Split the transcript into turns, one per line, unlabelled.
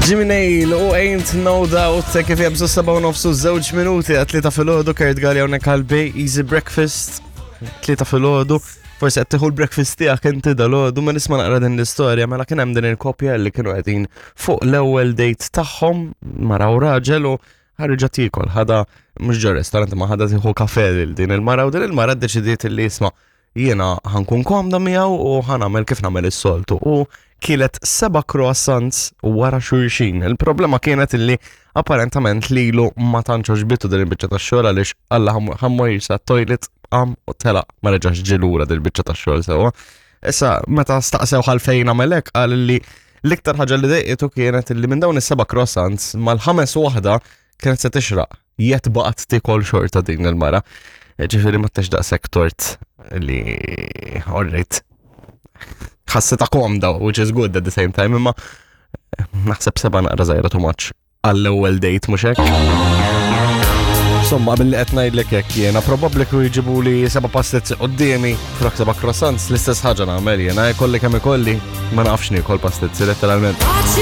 Jimmy Nail u Ain't No Doubt kif jabżu 7:30 minuti għat 3 filgħodu Kurt Galli hawnhekk għal Bay Easy Breakfast 3 filgħodu. Forsi qed tieħu l-breakfast tiegħek inti dalgħodu ma nisma' naqra din l-istorja mela kien hemm din il-koppja li kienu qegħdin fuq l-ewwel date tagħhom mara u raġel u ħarġa tiekol ħada mhux ġo restaurant ma ħada tieħu kafe lil din il-mara u din il-mara ddeċidiet li jisma' jiena ħankun komda miegħu u ħanamel kif nagħmel is-soltu. U kielet seba' croissants wara xulxin. Il-problema kienet illi apparentament lilu ma tantx għoġbitu din il-biċċa tax-xogħol għaliex alla ħammur sa toilet qam u telaq ma reġax ġilura din il-biċċa tax-xogħol sewwa. Issa meta staqsew għalfejn għamel hekk qal li l-iktar ħaġa li dejqitu kienet illi minn dawn is-seba' croissants mal-ħames waħda kienet se tixraq. Jett baqgħet tikol xorta din il-mara. Ġifieri ma tex daqshekk tort li orrejt. Ħassita komda, which is good at the same time, imma naħseb seba' naqra żgħira too much għall-ewwel date mhux hekk. Insomma, billi qed ngħidlek hekk jiena probabbli kieku jġibu li seba' pastizzi quddiemi flok seba' croissants, l-istess ħaġa nagħmel jiena, jkolli kemm ikolli, ma nafx niekol pastizzi letteralment.